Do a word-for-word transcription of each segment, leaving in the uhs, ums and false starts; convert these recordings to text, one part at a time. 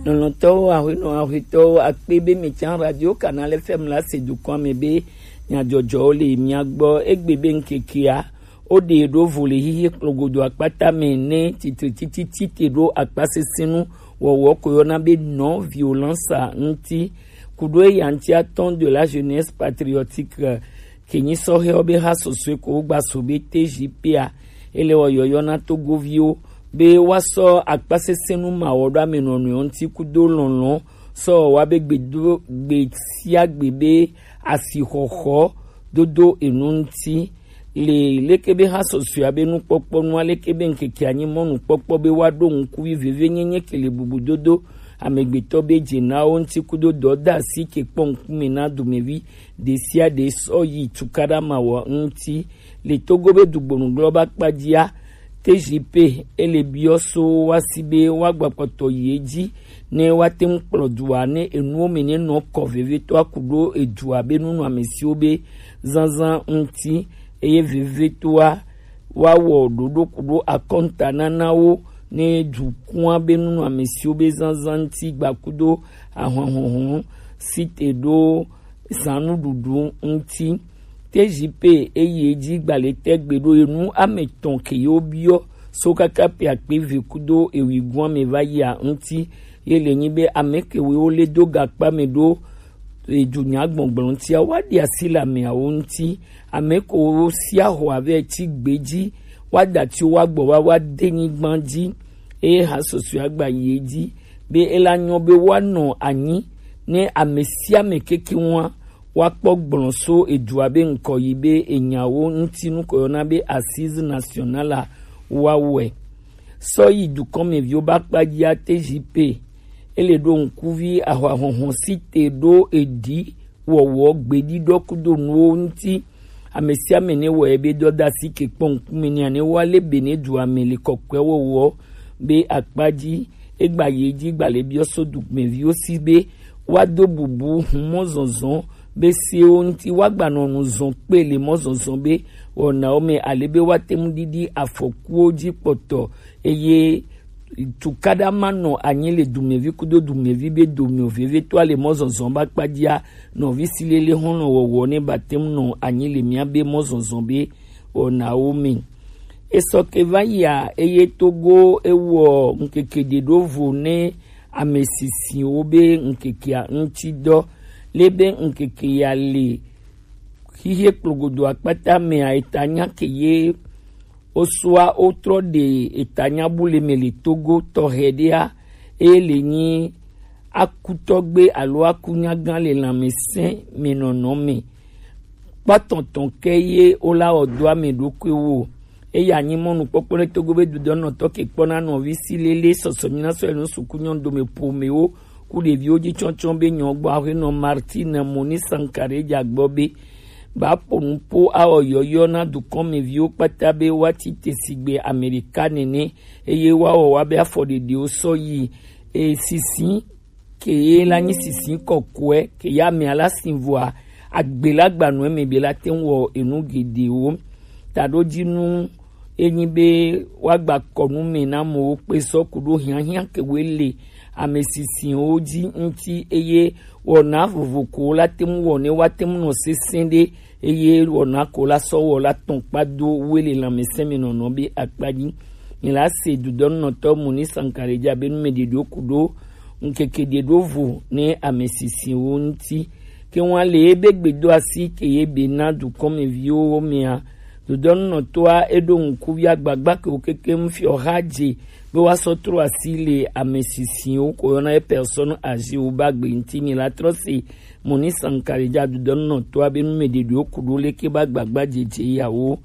Nɔnɔtɔwo, ahuenɔ ahuetɔwo, akpe be mi can Radio Canal F M la se dukɔa me be nyadzɔdzɔwo le mia gbɔ. Egbe be ŋkekea, wo ɖe ɖo vo le hihi kplogodo akpata me ne titre titi tite ɖo akpasesẽnu wɔwɔ ko yɔna be non violence ŋuti. Kuɖo eya ŋuti atɔn de la jeunesse patriotique, ke nyi sɔhɛwo be ha sɔsɔe ko wogba so be T J P a, ele wɔ yɔyɔ na Togoviwo be woasɔ akpasesẽnu ma wɔ ɖo amenɔnɔewo ŋuti kudo lɔlɔ̃ sɔ wa be gbedo gbe sia gbe be asixɔxɔ dodo enu ŋuti. Le leke be ha sɔsɔea be nukpɔkpɔ nu, aleke be ŋkeke anyi mɔnukpɔkpɔ be woaɖo ŋkuvi vevenyenye ke le bubudodo amegbetɔ be dzenawo ŋuti kudo dɔdeasi ke kpɔ ŋkume na dumevi ɖe sia ɖe sɔ yi tukaɖa ma wɔ ŋuti. Le Togo be dugbonu glɔ ba kpadzia, T J P ele biɔ so wa si be wa gba kpɔtɔ yi edzi ne wa te ŋu kplɔ dua ne enuwo me ne nɔ kɔ vevetɔa ku ɖo edua be nunɔamesiwo be zazã ŋuti, eye vevetɔa wa wɔ ɖoɖo ku ɖo akɔnta nana wo ne dukua be nunɔamesiwo be zazã ŋuti gba kudo ahɔnhɔnhɔn si te ɖo zãnuɖuɖu ŋuti. T J P eyi edzi gbalẽtɛ gbe ɖo enu ame etɔ̃ ke yewo biɔ so kaka pe akpe eve kudo ewuigoa me va yia ŋuti. Ye le nyi be ame kewo le do gakpa me ɖo edunya gbɔgblɔ ŋutia, wa ɖi asi le ameawo ŋuti. Ame kewo sia xɔ ave tsi gbe dzi, wa da tsi wa gbɔ va wa de nyigba dzi. Eye ha sɔsɔe agba yi edzi be ela nyɔ be woanɔ anyi ne ame sia ame keke ŋua woakpɔ gblɔ so edua be ŋkɔ yi be enyawo ŋuti nu ko yɔna be Assise Nationale a woawɔe. Sɔ yi dukɔmeviwo be akpa dzia, T J P ele ɖo ŋkuvi ahɔahɔhɔ si te ɖo eɖi wɔwɔ gbeɖiɖɔ kudo nuwo ŋuti. Ame sia ame ne wɔe be dɔdeasi ke kpɔ ŋkume nɛ ne woale be ne dua me le kɔkɔe wɔwɔ be akpa dzi. Egba yi edzi gba le biɔ so dumeviwo si be woado bubu hun mɔzɔzɔ be sewo ŋuti woagbanɔ nu zɔn kpe le mɔzɔzɔ be wɔnawo me ale be woate ŋu ɖiɖi afɔkuwo dzi kpɔtɔ, eye tukaɖa ma nɔ anyi le dumevi kudo dumevi be dome o, vevetɔa le mɔzɔzɔ ba kpadzia, nɔvi si lele hɔnɔ wɔwɔ ne ba te ŋu nɔ anyi le mia be mɔzɔzɔ be wɔnawo me. Esɔ ke va yia, eye Togo ewɔ ŋkeke ɖe ɖo vo ne ame sisiwo be ŋkekea ŋuti dɔ. Le be ŋkeke ya le xixie kplogodo akpata mea, eta nya ke ye osua wotrɔ ɖe eta nya bu le me le Togo tɔxɛ ɖea, eye le nyi akutɔgbe alo akunyagã le lãmesẽ me nɔnɔ me. Kpɔtɔtɔ ke ye wola wɔ do ame ɖokuiwo. Eya nyi mɔnukpɔkpɔ ɖe Togo be dudɔnɔtɔ ke kpɔna nɔvi si lele sɔsɔ nyina sɔ enu suku nyɔnu dome ƒomewo ku ɖeviwo dzi tsɔtsɔ be nyɔ gbɔ aƒenɔ Martine Moni Sankare dza gbɔ be ba ƒo nu po awɔ yɔyɔ na dukɔmeviwo kpata be woatsi te sigbe Amerika nene, eye woawɔ woabe afɔɖeɖewo sɔ yi, e, sisi ke ye la nyi sisi kɔkɔe ke ya amea la si vɔa, agbe la gba nɔ eme be la te ŋu wɔ enu geɖewo. Taɖodzinu enyi be woagba kɔ nu me na amewo kpe sɔ ku ɖo hiahiã ke woe le ame sisiwo dzi ŋuti, eye wɔna vovo ko la te ŋu wɔ ne woate ŋu nɔ sesẽ ɖe, eye wɔna ko la sɔ wɔ la tɔn kpa do woe le lãmesẽ me nɔnɔ be akpa dzi. Mi la se dudɔnunɔtɔ Moni Sankare dzi abe nu me ɖeɖewo ku ɖo ŋkeke ɖe ɖo vo ne ame sisiwo ŋuti. Ke ŋua le ebe gbedoasi ke ye be na dukɔmeviwo mea, dudɔnunɔtɔa eɖo ŋkuvi agbagba ke wo keke ŋu fiɔ xa dze be woasɔ trɔ asi le ame sisiwo ko yɔna ye personne âgée wo ba gbe ŋuti. Mi la trɔ se Moni Sankare dzi dudɔnunɔtɔa be nu me ɖeɖewo ku ɖo leke ba gbagba dzedze yawo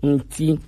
ŋuti.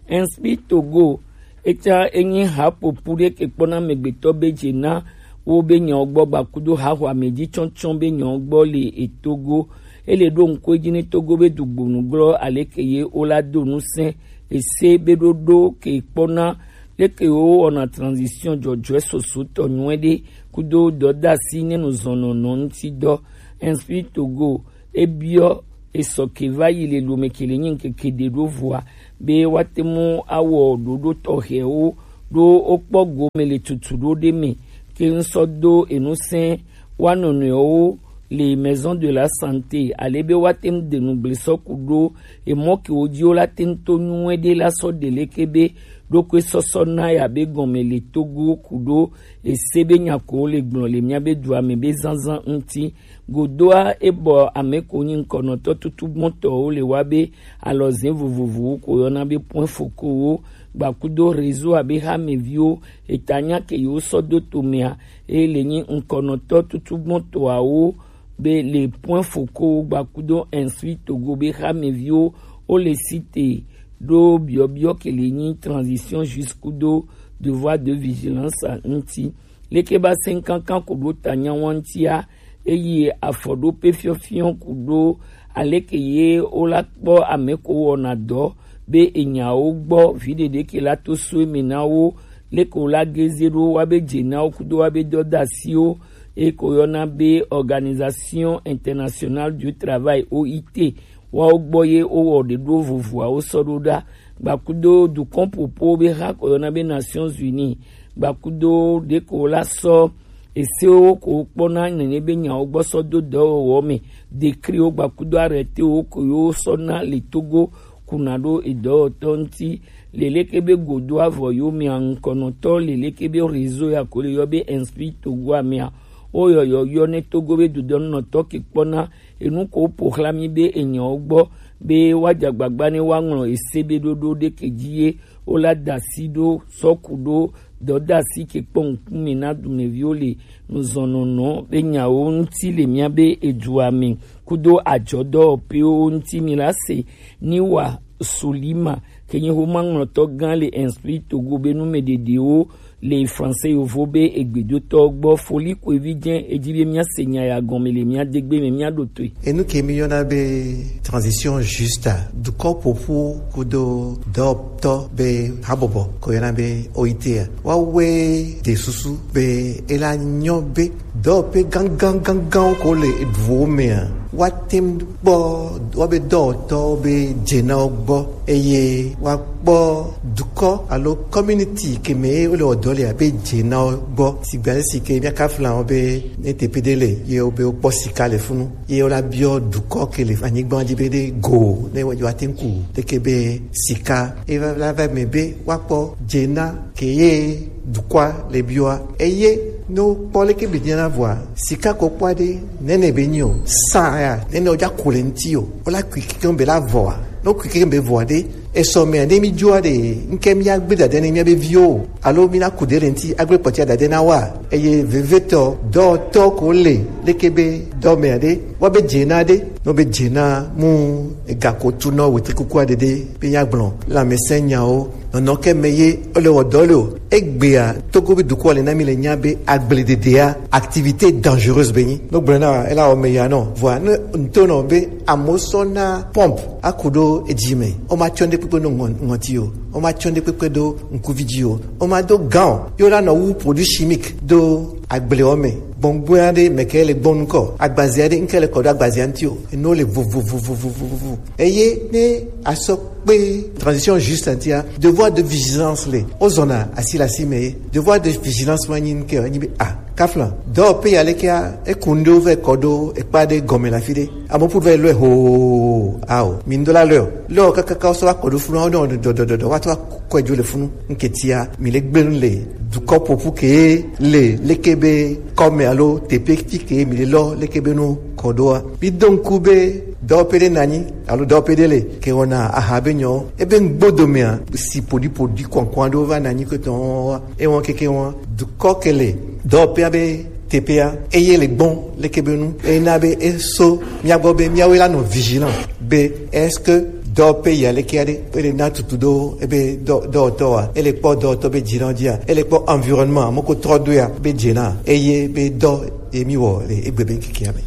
Inspire Togo, eta enyi haƒoƒu ɖe ke kpɔna amegbetɔ be dze na wo be nyawo gbɔ gbakudo haxɔ ame dzi tsɔtsɔ be nyawo gbɔ le etogo. Ele ɖo ŋku edzi ne Togo be dugbonu glɔ aleke ye wola do ŋusẽ ese be ɖoɖo ke kpɔna leke wo wɔna transition dzɔdzɔe soso tɔ nyuie ɖe kudo dɔdasi ne nu zɔnɔnɔ ŋuti dɔ. Inspire Togo ebiɔ esɔ ke va yi le lome ke le nyi ŋkeke ɖe ɖo vɔa be woate mu awɔ ɖoɖo tɔxɛwo ɖo wokpɔ gome le tutu ɖo ɖe me. ke ŋ sɔ do enu sɛn wa nɔnɔewo le maison de la santé, ale be wa te ŋ de nu gble sɔ ku ɖo emɔ ke wo ji wo la te ŋ to nyuie ɖe la sɔ ɖe leke be ɖokui sɔsɔ na ya be gɔme le Togo ku ɖo ese be nya ko wo le gblɔ le mia be dua me be zanzan ŋuti. Godoa e bɔ ame ko nyi ŋkɔnɔtɔ tutugbɔtɔwo le wa be alɔzin vovovowo ko yɔna be point focaux wo gbakudo réseau abe hameviwo eta nya ke yewo sɔ do to mea, eye le nyi ŋkɔnɔtɔ tutugbɔtɔawo be le point focaux wo gbakudo Instruis Togo be hameviwo wo le cité ɖo biɔbiɔ ke le nyi transition juste kudo devoir de vigilance ŋuti. Leke ba sɛn kankan ku ɖo ta nyawa ŋutia, eye afɔɖope fiɔfiɔ ku ɖo aleke ye wo la kpɔ ame ko wɔna dɔ be enyawo gbɔ viɖeɖe ke la to so eme na wo, leke wo la geze ɖo wa be dze na wo kudo wa be dɔdasiwo, eye ko yɔna be Organisation Internationale du Travail, O I T, woawo gbɔ ye wowɔ ɖeɖo vovoawo sɔ ɖo ɖa. Gbakudo dukɔn popo be ha ko yɔna be Nations Unies, gbakudo ɖeko la sɔ esewo ko kpɔna nene be nyawo gbɔ sɔ do dɔwɔwɔ me, dekriwo gbakudo arrêtéwo ko yo sɔ na le Togo kuna ɖo edɔwɔtɔ ŋuti. Leleke be godo avɔ yo mea ŋkɔnɔtɔ leleke be réseau ya ko le yɔ be Instruis Togo amea, wo yɔyɔ yɔ ne Togo be dodɔnunɔtɔ ke kpɔna enu ko ƒo xlã mí be enyawo gbɔ be woadze agbagba ne woaŋlɔ ese be ɖoɖo ɖeke dzi ye wola da asi ɖo sɔ ku ɖo dɔdeasi ke kpɔ ŋkume na dumeviwo le nuzɔnɔnɔ be nyawo ŋuti le mía be edua me kudo adzɔdɔwɔƒewo ŋuti. Mi la se ni wa Solima ke nyi xomaŋlɔtɔ gã le Instruis Togo be numeɖeɖewo le français yovo be egbedotɔ gbɔ. Foli ko evi jɛ edzi be mía se nya ya gɔme le mía degbe me mía ɖo toe. Enu ke mi yɔna be transition juste, dukɔ ƒoƒu kudo dɔtɔ be habɔbɔ ko yɔna be O I T a, woawɔe de susu be ela nyɔ be dɔwɔƒe gãgãgãgãwo ko le eduwo mea, woate ŋu kpɔ woabe dɔwɔtɔwo be dzenawo gbɔ, eye woakpɔ dukɔ alo community ke me ye wole wɔ dɔ lea be dzenawo gbɔ. Sigbe ale si ke míaka fla wo be ne teƒe ɖe le ye wobe wokpɔ sika le funu, ye wola biɔ dukɔ ke le anyigba dzi be ɖe go ne woate ŋu ku leke be sika eva la va me be woakpɔ dzena ke ye dukɔa le biɔa. Eye ne wokpɔ leke be nyana vɔa, sika ko kpɔa ɖe nene be nyi o, sa ya nene wodza ku le ŋuti o, wola kui kekeŋ be la vɔa. Ne wokui kekeŋ be vɔa ɖe, esɔ mea ne mi dzoa ɖe, ŋke mía gbe dade ne mía be viwo o, alo mi na ku ɖe le ŋuti agbe kpɔtia dade na wa. Eye vevetɔ dɔtɔ ko le leke be dɔ mea ɖe, wa be dzena ɖe, no be dzena mu ega ko tu nɔ wete kukua ɖe ɖe be nya gblɔ lãmesẽ nyawo. Nɔnɔ ke me ye wole wɔ dɔ le o. Egbea, Togo be dukɔ le na mi le nya be agblededea, activité dangereuse be nyi. No gblɔ na ela wɔ me ya nɔ. Vɔa, ne ŋutɔ nɔ be amewo sɔ na pompe aku ɖo edzi me. Wo ma tsɔ ɖe kpekpe ɖo ŋɔ-, ŋɔti o. Wo ma tsɔ ɖe kpekpe ɖo ŋkuvi dzi o. Wo ma do gant o. Yo la nɔ wu produit chimique do agblewo me. Gbɔngbɔn aɖe me ke le gbɔn ŋkɔ. Agbazia ɖe ŋke le kɔ ɖo agbazia ŋuti o. Eno le vovovovovovovo. Eye ne asɔ kpe transition juste ŋutia, devoir de vigilance le. Wozɔna asi le asi me ye. Devoir de vigilance ma nyi ŋke, nyi be, ah, kafla. Dɔwɔƒe ya lekea, eku ŋɖewo vɛ kɔ ɖo ekpa ɖe gɔme le afi ɖe. Amewo ƒu vɛ lɔe hoo, ao. Mi ŋdo la lɔe o. Lɔe o kakaka wosɔ va kɔ ɖo funu, awo ɖɔ dɔdɔdɔdɔ, woatrɔ kɔe dzo le funu. Ŋketia, mi le gblẽ nu le dukɔ ƒoƒu ke le leke be kɔme alo teƒe fi ke mi le lɔ leke be nu kɔ ɖoa. Mi do ŋku be dɔwɔƒe ɖe nanyi alo dɔwɔƒe ɖe le ke wɔna aha be nyɔ. Ebe ŋgbodo mea, si poɖipoɖi kɔnkɔn aɖewo va nanyi ke tɔn wa. Ewɔn keke wɔn dukɔ ke le dɔwɔƒea be teƒea, eye le gbɔn leke be nu, eye na be eso mía gbɔ be míawoe la nɔ vigilant be est-ce que dɔwɔƒe ya leke aɖe, ele na tutu ɖo ebe dɔ-, dɔwɔtɔ wa, ele kpɔ dɔwɔtɔ be dzinɔ dzia, ele kpɔ environnement, moko trɔ do ya be dzena, eye be dɔ ye mi wɔ le egbe be ŋkekea me.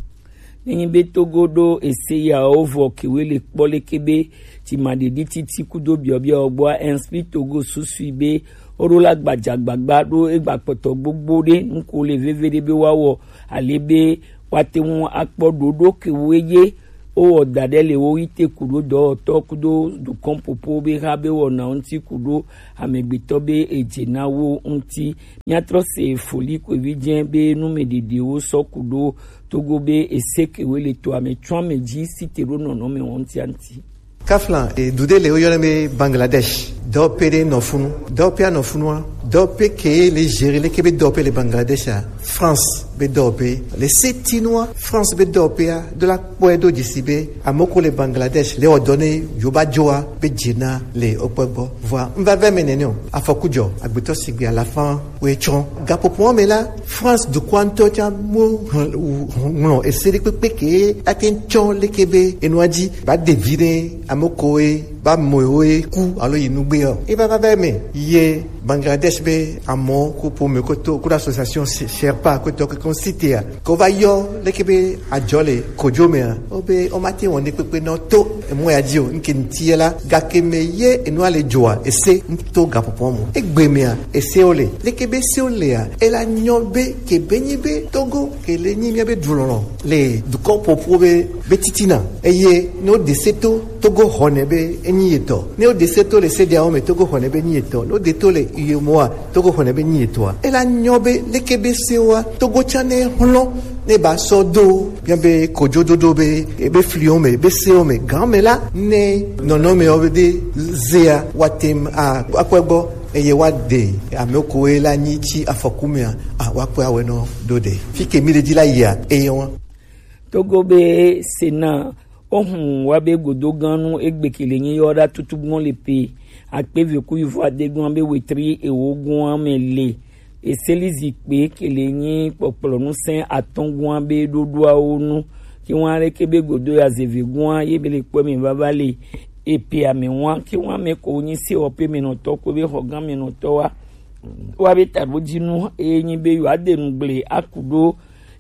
Nenyi be Togo ɖo ese yawo vɔ kewe le kpɔ leke be dzimaɖeɖi titi kudo biɔbiɔ gbɔa, Inspire Togo susui be woɖo la gbadzagbagba ɖo egba kpɔtɔ gbogbo ɖe ŋku le veve ɖe be woawɔ ale be woate ŋu akpɔ ɖoɖo kewe ye Wowɔ da ɖe le wo yi te kuɖo dɔwɔtɔ kudo dukɔn popo be ha be wɔna ŋuti kudo amegbetɔ be edze na wo ŋuti. Míatrɔ se foli kwevi jɛ be numeɖeɖewo sɔ kudo Togo be ese kewe le to ame tsɔ ame dzi si te ɖo nɔnɔme wɔn ŋuti. Kaflan, e, dude le woyɔna be Bangladesh. Dɔwɔƒe ɖe nɔ funu. Dɔwɔƒea nɔ funua. Dɔwɔƒe ke le gérer leke be dɔwɔƒe le Bangladesh a, France be dɔwɔƒe. Le setinua, France be dɔwɔƒea do la kpɔe do dzesi be amoko le Bangladesh le wɔ dɔ ne yoba joa be dze na le okpɔ gbɔ. Vɔa, n va vɛ me nene o. Afɔku dzɔ, agbetɔ sigbe alafa woe tsɔ. Gaƒoƒoa me la, France dukɔa ŋutɔ tsã mo ŋlɔ ese ɖe kpekpe ke ate ŋu tsɔ leke be enua dzi ba ɖevi ɖe ame koe ba mɔe woe ku alo yi nugbe o. E va va va me ye Bangladesh be amɔ ku ƒome koto ku association Sherpa koto ke kon sitea ko va yɔ leke be adzɔ le kodzo mea. O be o ma te wɔn ɖe kpekpe nɔ to emɔ ya dzi o. Nke ŋuti ye la, gake me ye enua le dzoa, ese ŋuto gaƒoƒoa mo. Egbe mea, esewo le. Leke be sewo lea, ela nyɔ be ke be nyi be Togo ke le nyi mía be dulɔlɔ le dukɔ ƒoƒo be be titina. Eye ne wo de se to, Togo xɔnɛ be enyi yetɔ. Ne wo de se to le se diawo me, Togo xɔnɛ be enyi yetɔ. Ne wo de to le iyemoa, Togo xɔnɛ be nyi yetɔa. Ela nyɔ be leke be sewoa, Togo tsã ne xlɔ ne ba sɔ do mía be kodzododo be ebe fliwo me, ebe sewo me, gan me la, ne nɔnɔmewo be de zea, wa tem a, akpɔe gbɔ, eye wa de ame koe la nyi tsi afɔku mea, a, wa kpɔe awɛ nɔ do de. Fi ke mi le dzi la yia, eye wa. Togo be Sena, ohun wa be godo gan nu egbe ke le nyi yɔ ɖa tutu gbɔn le pe, akpe ve ku ivo ade gbɔn be wetri ewo gbɔn me le. Eseli zikpe ke le nyi kpɔkplɔ nu sɛn atɔn gua be ɖoɖoawo nu. Ke wan ɖe ke be godo ya zeve gua ye be le kpɔ me vava le epe ame wan ke wan me ko nyi se wɔ pe me nɔtɔ ko be xɔ gan me nɔtɔ wa. Wa be taɖo dzi nu e nyi be yo ade nu gble aku ɖo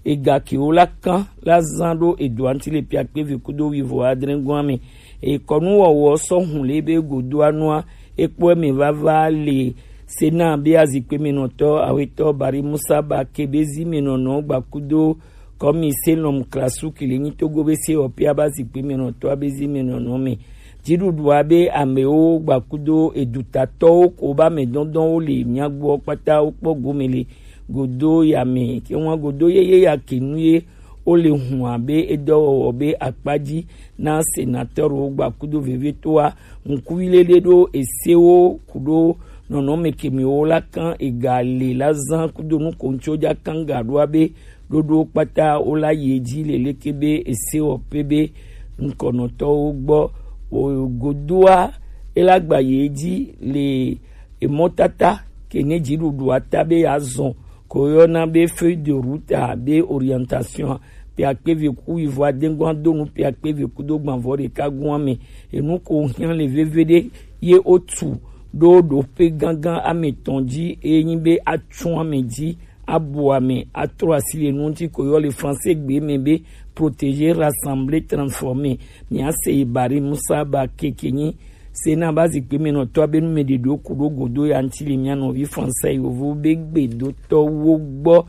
ega ke wo la kan la zan ɖo edoa ŋuti le pe akpe ve kudo wivo adre gua me. Ekɔnu wɔwɔ sɔ hun le be godoa nua ekpɔ me vava le Sena be azikpe me nɔtɔ awetɔ Bari Musa ba ke be zi me nɔnɔ gbakudo kɔmi se lɔm klasu kele nyi Togo be se ɔpia ba zikpe me nɔtɔ abe zi me nɔnɔ me. Dziɖuɖua be amewo gbakudo edutatɔwo ko ba me dɔndɔnwo le miagbɔ kpata wo kpɔ gome le godo ya me. Ke ŋua godo yeye ya ke nu ye wo le hun abe edɔwɔwɔ be akpadzi na senatɔrwo gbakudo vevie toa ŋkuvi lele ɖo esewo kuɖo nɔnɔme kemiwo la kan ega le la zan kudo nu ko ŋtso dza kan ga ɖoa be ɖoɖo kpata wo la yi edzi le leke be ese wɔ pe be ŋkɔnɔtɔwo gbɔ o godoa ela gba yi edzi le emɔtata ke ne dziɖuɖua ta be yeazɔ ko yɔna be feuille de route a be orientation pe akpe ve ku ivo adengua do nu pe akpe ve kudo gbanvɔ ɖeka gua me enu ko hiã le veve ɖe ye wotu ɖo ɖoƒe gãgã ame etɔ̃ dzi eye nyi be atsu ame dzi abu ame atrɔ asi le nu ŋuti ko yɔ le français gbe me be protéger, rassembler, transformer. Mia se yi Bari Musa ba keke nyi Sena ba zikpe me nɔtɔ abe nu me ɖeɖo ku ɖo godo ya ŋuti le mia nɔvi français yovo be gbedotɔwo gbɔ.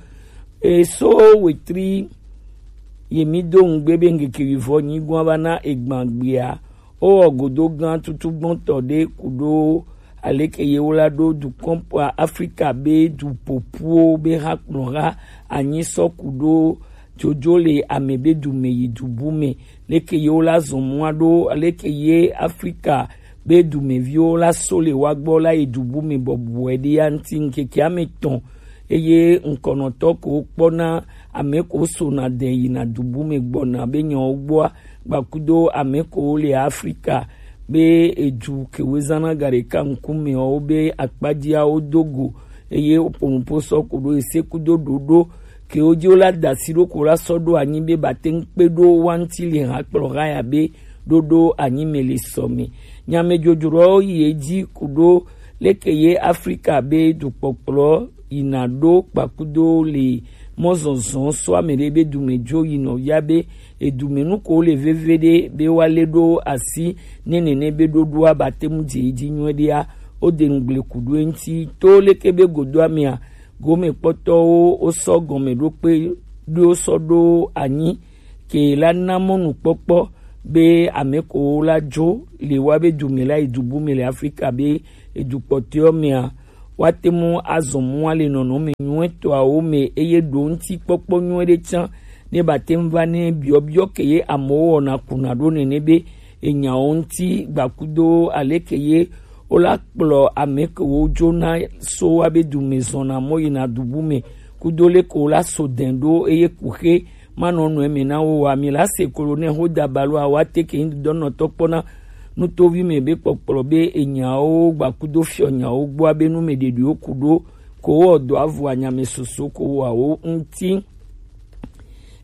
Eso wetri ye mi do ŋugbe be ŋkeke wivɔ nyi gua va na egban gbea. Wowɔ godo gã tutugbɔntɔ ɖe ku ɖo aleke yewo la ɖo dukɔn kpɔa Afrika be du ƒoƒuwo be ha kplɔ ha anyi sɔ ku ɖo jojo le ame be du me yi du bu me. Leke yewo la zɔ mɔa ɖo aleke ye Afrika be dumeviwo la so le wa gbɔ la yi du bu me bɔbɔe ɖe ya ŋuti ŋkeke ame etɔ̃ eye ŋkɔnɔtɔ ko kpɔna ame ko sona de yina du bu me gbɔna be nyawo gbɔa gbakudo ame ko le Afrika be edu kewo zana ga ɖeka ŋkumewo be akpadziawo do go eye woƒo nuƒo sɔ ko ɖo ese kudo ɖoɖo kewo dzi wo la da asi ɖo ko la sɔ ɖo anyi be ba te ŋu kpe ɖo wa ŋuti le ha kplɔ ha ya be ɖoɖo anyi me le sɔ me. Nyamedzodzroawo yi edzi ku ɖo leke ye Afrika be dukpɔkplɔ yina ɖo kpakudo le mɔzɔzɔ sɔ ame ɖe be dume dzo yinɔ ya be edume nu ko le veve ɖe be wa le ɖo asi ne nene be ɖoɖoa ba te mu dze yi dzi nyuie ɖea wo de nu gble ku ɖo eŋuti to leke be godo amea gome kpɔtɔwo wo sɔ gɔme ɖo kpe ɖo sɔ ɖo anyi ke la na mɔnukpɔkpɔ be ame ko la jo le wa be du me la yi du bu me le Afrika be edu kpɔtɔewo mea, woate ŋu azɔ mɔ le nɔnɔme nyuietɔawo me, eye ɖo ŋutikpɔkpɔ nyui ɖe tsã ne bate ŋu va ne biɔbiɔ ke ye amewo wɔna kuna ɖo nene be enyawo ŋuti gbakudo aleke ye wola kplɔ ame kewo dzona so wa be du me zɔna mɔ yina du bu me kudo leke wola so dɛn ɖo eye kuxe manɔ nɔ eme na wo wa. Mi la se kolo ne ho da balo awa te ke ŋdɔ nɔ tɔ kpɔna nutovi me be kpɔkplɔ be enyawo gbakudo fiɔ nyawo gbɔ abe nu me ɖeɖiwo ku ɖo ko wɔ dɔ avu anyame soso ko wɔ awo ŋuti.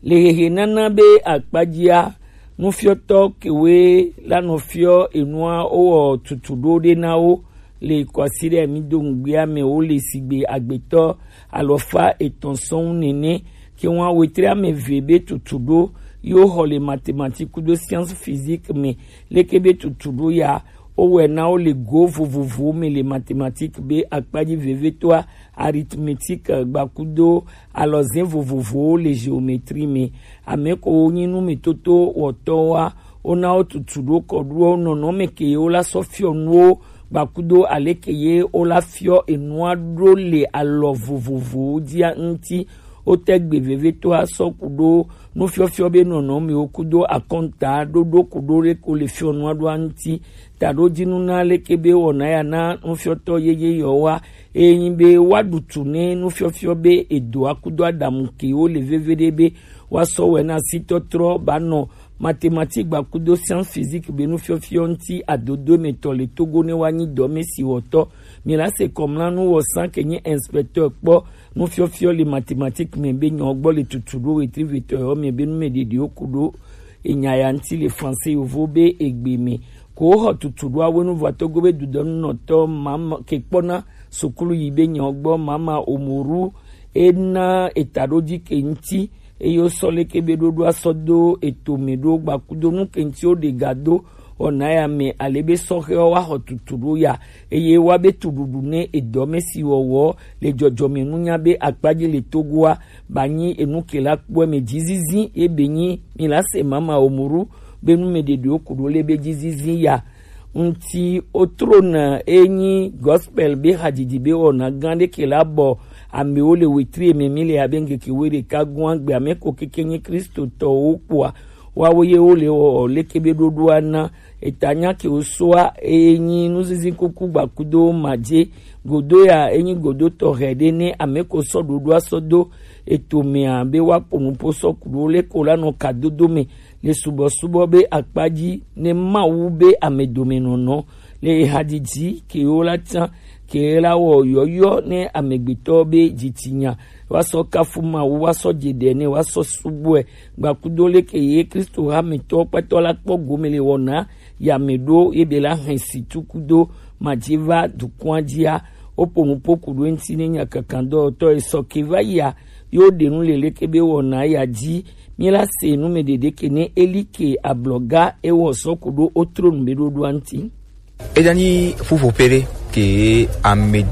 Le hehe nana be akpadzia, nufiɔtɔ kewe la nɔ fiɔ enua wowɔ tutu ɖo ɖe na wo le kɔsi ɖe mi do ŋugbea me wo le sigbe agbetɔ alɔfa etɔn sɔn nene ke ŋua wetre ame ve be tutu ɖo yo xɔ le mathématique kudo science physique me leke be tutu ɖo ya wowɛ na wo le go vovovowo me le mathématique be akpadzi vevetɔa arithmétique gbakudo alɔzɛn vovovowo le géométrie me. Ame ko wo nyi nu me toto wɔtɔ wa wo na wo tutu ɖo kɔ ɖo nɔnɔme ke wo la sɔ fiɔ nuwo gbakudo aleke ye wo la fiɔ enua ɖo le alɔ vovovowo dzia ŋuti. Wo te gbe vevetɔa sɔ ku ɖo nufiɔfiɔ be nɔnɔmewo kudo akɔnta ɖoɖo ku ɖo ɖe ko le fiɔ nua ɖoa ŋuti. Taɖo dzi nu na leke be wɔna ya na nufiɔtɔ yeye yɔ wa eye nyi be woaɖu tu ne nufiɔfiɔ be edo akudo adamu ke wo le veve ɖe be woasɔ wɛ na sitɔtrɔ ba nɔ mathématique gbakudo science physique be nufiɔfiɔ ŋuti adodo emetɔ le Togo ne woanyi dɔme si wɔtɔ. Mi la se kɔmlanu wɔ san ke nye inspecteur kpɔ nufiɔfiɔ le mathématique me be nyɔ gbɔ le tutu ɖo wetri vetɔ yɔ me be nu me ɖeɖiwo ku ɖo enya ya ŋuti le français yovo be egbe me. Ko woxɔ tutu ɖo awenu vɔ togo be dudɔnunɔtɔ mama ke kpɔna sukulu yi be nyɔ gbɔ mama omoru ena eta ɖo dzi ke ŋuti eye wosɔ leke be ɖoɖoa sɔ do eto me ɖo gbakudo nu ke ŋuti woɖe ga do wɔna ya me ale be sɔhɛwo woaxɔ tutu ɖo ya eye woabe tuɖuɖu ne edɔme si wɔwɔ le dzɔdzɔme nunya be akpadzi le Togoa ba nyi enu ke la kpɔe me dzizizi ye be nyi mi la se mama omuru be nu me ɖeɖewo ku ɖo le be dzizizi ya ŋuti. Otrona enyi gospel be hadzidzi be wɔna gã ɖe ke la bɔ amewo le wetri eme mi le abe ŋkeke wo ɖeka gɔ̃a gbe ame ko keke nyi Kristotɔwo kpɔa woawo ye wo le wɔ leke be ɖoɖoa na eta nya ke wo soa eye nyi nuzizi kuku gbakudo madze godo ya enyi godo tɔxɛ ɖe ne ame ko sɔ ɖoɖoa sɔ do eto mea be woaƒo nuƒo sɔ ku ɖo le ko la nɔ kadodo me le subɔsubɔ be akpa dzi ne Mawu be amedomenɔnɔ le ehadzidzi kewo la tsã ke la wɔ yɔyɔ ne amegbetɔ be dzitsinya woasɔ kafu Mawu woasɔ dze ɖe ne woasɔ subɔe gbakudo leke ye Kristo hametɔ kpatɔ la kpɔ gome le wɔna yame ɖo ye be la hɛn si tukudo madzi va dukɔa dzia woƒo nuƒo ku ɖo eŋuti ne nya kakandɔwɔtɔ esɔ ke va yia yo ɖe nu le leke be wɔna ya dzi mi la se nu me ɖeɖe ke ne eli ke ablɔga ewɔ sɔ ku ɖo otronu be ɖoɖoa ŋuti. Eya nyi ƒuƒoƒe ɖe ke ame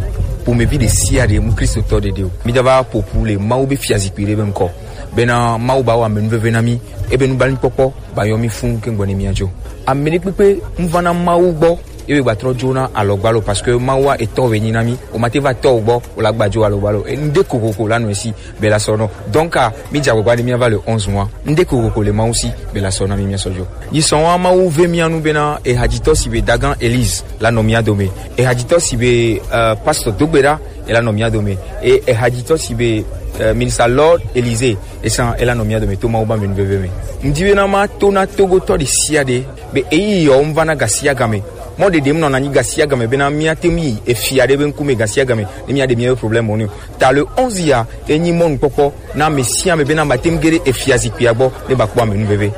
ƒomevi ɖe sia ɖe mu Kristotɔ ɖeɖe o. Mi da va ƒoƒu le Mawu be fiazikpui ɖe be ŋkɔ. Bena Mawu ba wɔ amenuveve na mi, ebe nublanuikpɔkpɔ ba yɔ mi fũ ke ŋgbɔ ne mia dzo. Ame ɖe kpekpe ŋu va na Mawu gbɔ ebe gba trɔ dzo na alɔgbalo parce que Mawu wa etɔ be nyi na mi. O ma te va tɔ gbɔ o la gba dzo alɔgbalo. E, ŋde kokoko la nɔ esi be la sɔ nɔ. Donc, ah, mi dze agbagba ɖe míava le onze mois. Ŋde kokoko le Mawu si be la sɔ na mi míasɔ dzo. Yi sɔn wa Mawu ve mía nu bena ehadzitɔ si be Dagan Elise la nɔ mía dome. Ehadzitɔ si be, euh, Pastor Dogbeɖa e la nɔ mía dome. E ehadzitɔ si be, euh, Minister Lord Elise esan e la nɔ mía dome to Mawu ba me nuveve me. Ŋdi bena ma to na Togotɔ ɖe sia ɖe be eyi yɔ ŋva na gasia game. Mɔ ɖeɖe ŋu nɔna nyi gasia game bena míate ŋu yi efia ɖe be ŋkume gasia game ne míaɖe míaƒe problème wo nɛ o. Ta le onze ya enyi mɔnukpɔkpɔ na ame sia ame bena mate ŋu ge ɖe efia zikpuia gbɔ ne ba kpɔ amenuveve.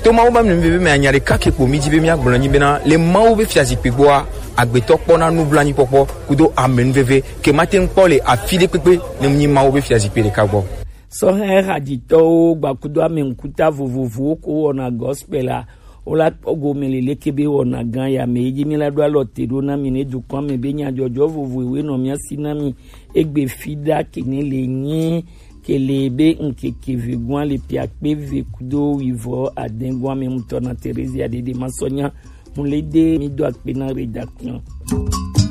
To Mawu be amenuveve me anya ɖeka ke kpo mi dzi be míagblɔ nyi bena le Mawu be fia zikpui gbɔa agbetɔ kpɔna nublanuikpɔkpɔ kudo amenuveve ke mate ŋu kpɔ le afi ɖe kpekpe ne mu nyi Mawu be fia zikpui ɖeka gbɔ. Sɔhɛ hadzitɔwo gbakudo ame ŋkuta vovovowo ko wɔna gospel a Wo la kpɔ gome le leke be wɔna gã ya me. Eyi dzi mi la ɖo alɔ te ɖo na mi ne dukɔa me be nyadzɔdzɔ vovovoe nɔ mia si na mi. Egbe fi ɖa ke ne le nyi Kele be ŋkeke vegoa le piakpe ve kudo wivɔ adengua me mutɔ na Teresia Dede Masɔnya. Mulede mi do akpe na rédaction.